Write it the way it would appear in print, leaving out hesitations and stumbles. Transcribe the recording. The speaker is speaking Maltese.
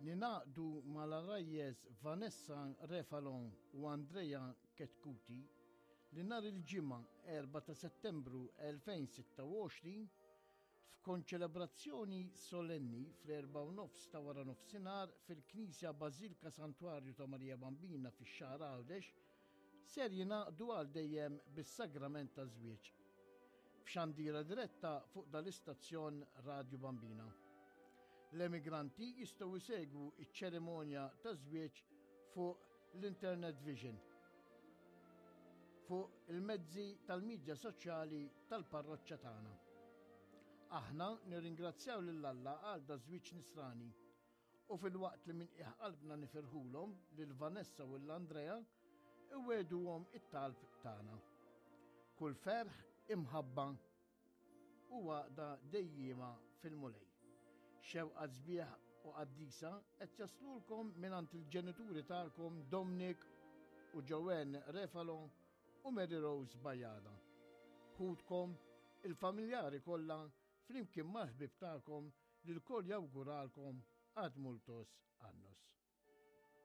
Ningħaqdu mal-għarajjes Vanessa Refalon u Andrea Chetcuti li nhar il-Ġimgħa 4 ta' Settembru 2026 f'konċelebrazzjoni solenni fl-4:30 ta' waranofsinhar fil-Knisja Bażilka Santwarju ta' Marija Bambina fix-Xagħar Għawdex ser jingħaqdu għal dejjem bis-sagrament taż-żwieġ. F'xandira diretta fuq dal-istazzjon Radju Bambina. L-emigranti jistgħu jsegwu ċ-ċerimonja taż-żwieġ fuq l-Internet Vision fuq il-mezzi tal-midja soċjali tal-parroċċa tagħna. Aħna nirringrazzjaw lil Alla għal da żwieġ nisrani u filwaqt li minn qiegħ qalbna nifirħulhom lil Vanessa u l-Andrea iweduhom it-talb tagħna. Kull ferħ, imħabba u għaqda dejjiema fil-Mulej. Xewqa sbieħ u qaddisa qed jaslulkom mingħand il-ġenituri tagħkom Dominic u Joanne Refalo u Mary Rose Bajada. Ħutkom, il-familjari kollha flimkien mal-ħbieb tagħkom li lkoll jawguralkom ad multos annos.